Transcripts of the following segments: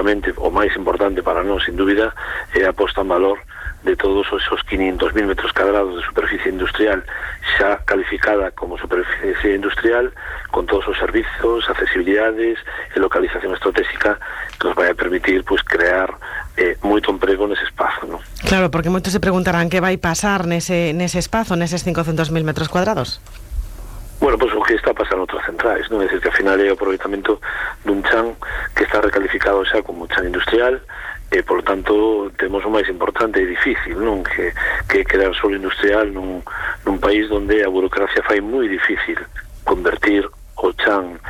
efectivamente, o máis importante para nós, sin dúbida, é a posta en valor de todos esos 500.000 metros cuadrados de superficie industrial xa calificada como superficie industrial, con todos os servizos, accesibilidades e localización estratégica que nos vai a permitir pues, crear moito emprego nese espazo, ¿no? Claro, porque moitos se preguntarán que vai pasar nese espazo, neses 500.000 metros cuadrados. Bueno, pues o que está pasando outras centrais, non? É dicir, que ao final é o aproveitamento dun chan que está recalificado xa como chan industrial, e, por lo tanto, temos o máis importante e difícil, non? Que crear solo industrial nun país onde a burocracia fai moi difícil convertir o chan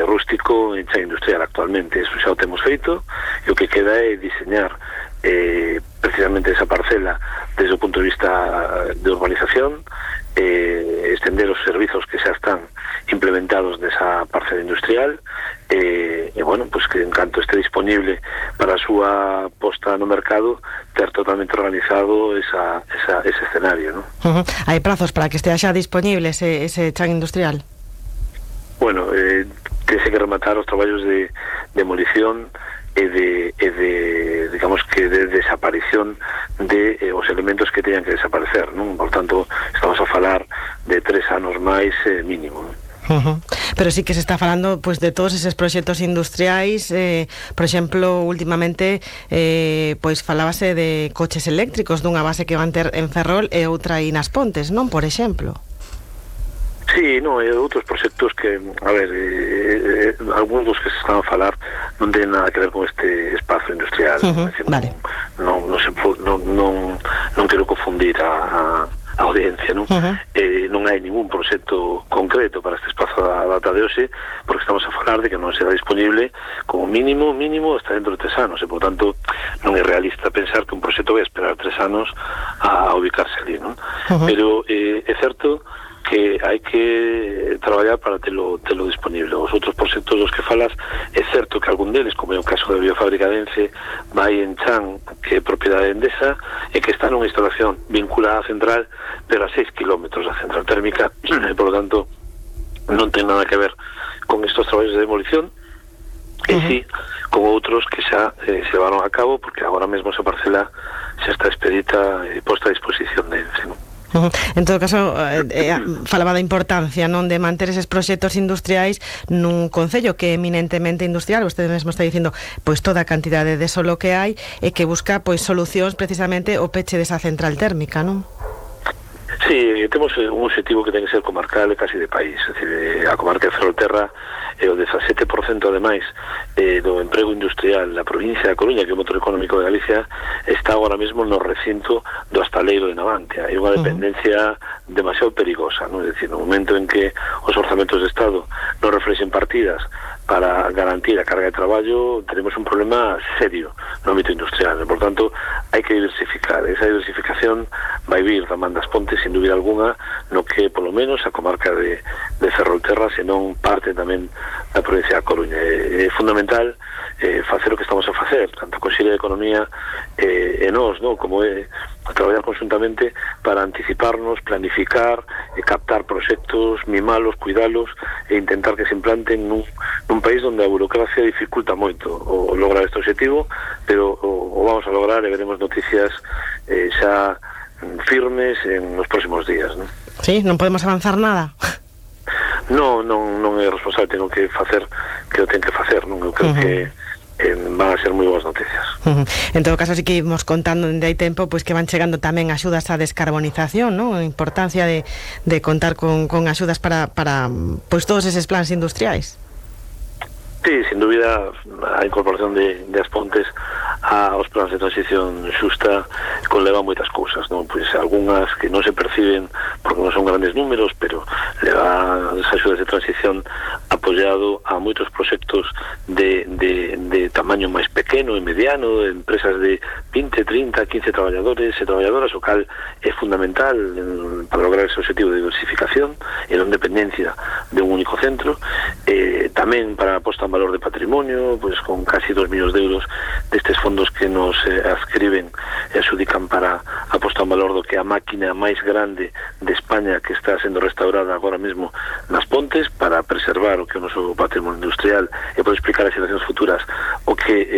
rústico en chan industrial actualmente. Eso xa o temos feito, e o que queda é diseñar precisamente esa parcela desde o punto de vista de urbanización, extender os servizos que xa están implementados nesa parcela industrial, e bueno, pues que en canto este disponible para a súa posta no mercado, ter totalmente organizado ese escenario, ¿no? Hai prazos para que estea xa disponible ese chan industrial? Bueno, tese que rematar os traballos de demolición e de digamos que de desaparición de os elementos que teñan que desaparecer, non? Por tanto, estamos a falar de 3 anos máis mínimo, non? Pero sí que se está falando pues de todos eses proxectos industriais, por exemplo, últimamente pois falábase de coches eléctricos dunha base que van ter en Ferrol e outra aí nas Pontes, non? Por exemplo. Sí, no, e outros proxectos que, a ver, algúns dos que se están a falar non ten nada que ver con este espazo industrial. Decir, vale. Non quero confundir a audiencia, non? Non hai ningún proxecto concreto para este espazo da data de hoxe, porque estamos a falar de que non será disponible como mínimo hasta dentro de 3 anos, e por tanto non é realista pensar que un proxecto vai esperar 3 anos a ubicarse ali, non? Pero é certo que hai que traballar para telo disponible. Os outros proxectos dos que falas, é certo que algún deles, como é o caso da biofábrica de Ence, vai en Chan, que é propiedade endesa, e que está nunha instalación vinculada á central, pero a 6 kilómetros da central térmica, e, por lo tanto, non ten nada que ver con estos traballos de demolición, e sí, con outros que xa se levaron a cabo, porque agora mesmo esa parcela xa está expedita e posta a disposición de Ence, non? En todo caso, falaba da importancia, non, de manter eses proxectos industriais nun concello que é eminentemente industrial. Vostede mesmo está dicindo pois toda a cantidade de solo que hai e que busca pois solucións precisamente o peche desa central térmica, non? Sí, temos un objetivo que ten que ser comarcal e casi de país. É dicir, a comarca de Ferrolterra é o 17% ademais do emprego industrial na provincia da Coruña, que é o motor económico de Galicia, está agora mesmo no recinto do Astaleiro de Navantia. É unha dependencia demasiado perigosa, non? É dicir, no momento en que os orzamentos de Estado non reflexen partidas para garantir a carga de traballo, tenemos un problema serio no ámbito industrial. Por tanto, hai que diversificar. Esa diversificación vai vir da man das Pontes, sin dúbida alguna, no que, polo menos, a comarca de Ferrolterra, senón parte tamén da provincia da Coruña. É fundamental facer o que estamos a facer, tanto a Consellería de Economía e nós, ¿no? Como é traballar conjuntamente para anticiparnos, planificar, captar proxectos, mimalos, cuidalos e intentar que se implanten nun país onde a burocracia dificulta moito o lograr este objetivo, pero o vamos a lograr e veremos noticias xa firmes en os próximos días, ¿no? Sí, non podemos avanzar nada. Non é responsable, tengo que facer que o ten que facer, non? Eu creo que van a ser moi boas noticias. En todo caso, sí que íbamos contando dende hai tempo pois que van chegando tamén axudas á descarbonización, non? A importancia de contar con axudas para pois todos eses plans industriais. Sí, sin dúbida, a incorporación de As Pontes aos plans de transición xusta conleva moitas cousas, non? Pois algunhas que non se perciben porque non son grandes números, pero leva as axudas de transición apoiado a moitos proxectos de tamaño máis pequeno e mediano, de empresas de 20, 30, 15 traballadores e traballadoras, o cal é fundamental para lograr ese objetivo de diversificación e non dependencia de un único centro, tamén para a posta en valor de patrimonio, pois con casi 2 millóns de euros destes fondos que nos adscriben e adxudican para a posta en valor do que a máquina máis grande de España que está sendo restaurada agora mesmo nas Pontes para preservar o que é o noso patrimonio industrial e poder explicar as xeracións futuras o que